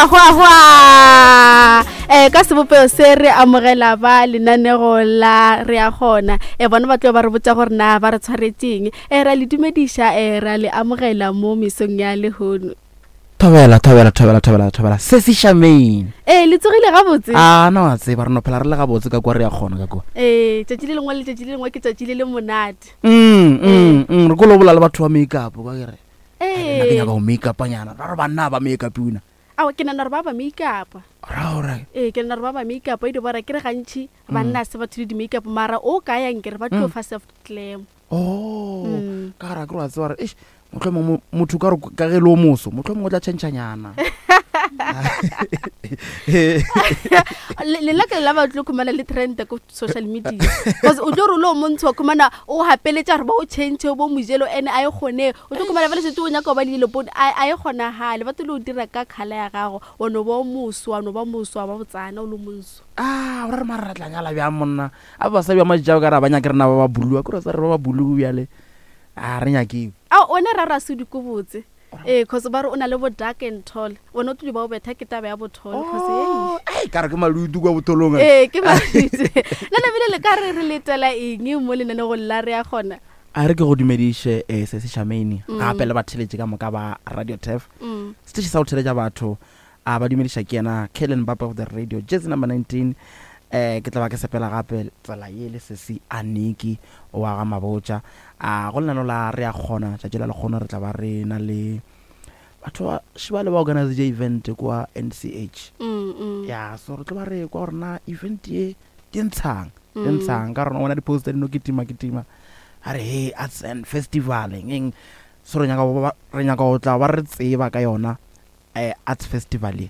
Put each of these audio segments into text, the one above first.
Hwa hwa. Eh ka sebopego se re amogela ba lenanego la re a gona. Eh bona ba tlo ba re botsa gore na ba re tshwaretseng. Eh ra le dumediša eh ra le amogela mo mesong ya lehono. Thobela, thobela, thobela, thobela, thobela. Se se Charmaine. Eh le tsogile gabotse. A na wa tseba re no phela re le gabotse ka kwa re ya kgona ka kwa. Eh tšatši le lengwe le tšatši le lengwe ke tšatši le le monate. Mm, mm, mm, re kolo bola le batho ba make up ka ke re. Nna ke nyaka go make up nyana. Ra re banna ba make up una. Ao ke nana gore ba ba make up. Ra ora. Ee ke nana gore ba ba make up e di bora ke re gantši banna se batho le di make up mara o ka yang ke re ba tlo fa self glam. Oh, ka gara ke re wa tseba gore eish mohlomongwe motho ka re ka ge le o moso mohlomongwe o tla tšhentšhanyana. Le nna ke la ba tlo khumana le trend ko social media because o tlo re lo montsho khumana o hapeletša gore ba o change bo mojelo ene a e kgone o tlo khumana fela setse o nyaka go ba le dilo pone a e kgonagale ba tlo o dira ka khala ya gago wa no ba moso wa no ba moso wa ba botsana o le monso a o re mara re tla nyala bjang monna a basadi ba majao ka re ba nyake rena ba ba bulua ke re sa re ba ba bulu bjale a re nyake a one ra ra se dikobotse ee cause ba re o na le bo dark and tall wena o tlile ba o betha ke taba ya botholo cause oh, ei ka re ke malutu kwa botholong ee ke malutu le lebile le ka re re letela eng mo lenanegong la re ya gona a re ke go dumediše um se se Charmaine mm. gape le batheletše ka moka ba radio tef mm. seteše sa go theletša batho a ba dumediša ke yena Kellen Bapa of the radio jersey number 19 eh ke tla ba ke sepela gape tsela ye le sesi a Niki wa ga Mabotja a go lenano la re a kgona tšatši la lekgono re tla ba re na le batho ba šebale ba organize event kwa NCH mm, mm. ya so re tlo ba re kwa gore na event ye di ntshang di mm. ntshang ka rona bona di-poster di no kitima kitima a re hey arts and festival eng eng so re nyaka re nyaka go tla ba re tseba ka yona eh, arts festival ye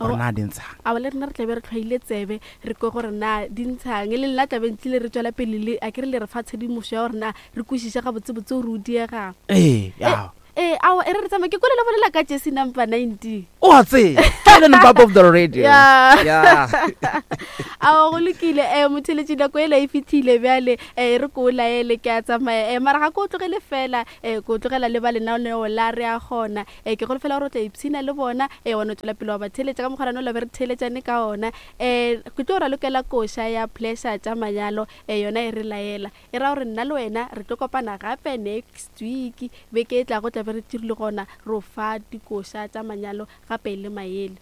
gore na di ntshang a le rena re tlabe re tlhwaile tsebe re kwe gore na di ntshang le nna tlabe ntlile re tswela pele le a ke re le re fa tshedimošo ya gore na re kwešiše gabotsebotse gore o diegang ee ya ee ao e re re tsamaya ke kole le bolela ka jesi number 19 o a tseba Kellen Bab of the radio Yeah. yeah ao go lokile um motheletši nako ela e fitlhile bjale um re ko o laele ke a tsamaya um mara ga ko o tlogele fela um ko o tlogela le ba lenaneo la re a gona um ke golofela gore o tla ipshina le bona um wa no tswela pele wa ba theeletša ka mokgwa rano la be re theeletšane ka ona um ke tlo ralokela koša ya pleasure tša manyalo um yona e re laela e ra gore nna le wena re tlo kopana gape next week beke e tlago tla be re tširile gona ro fa dikoša tša manyalo gape le maele.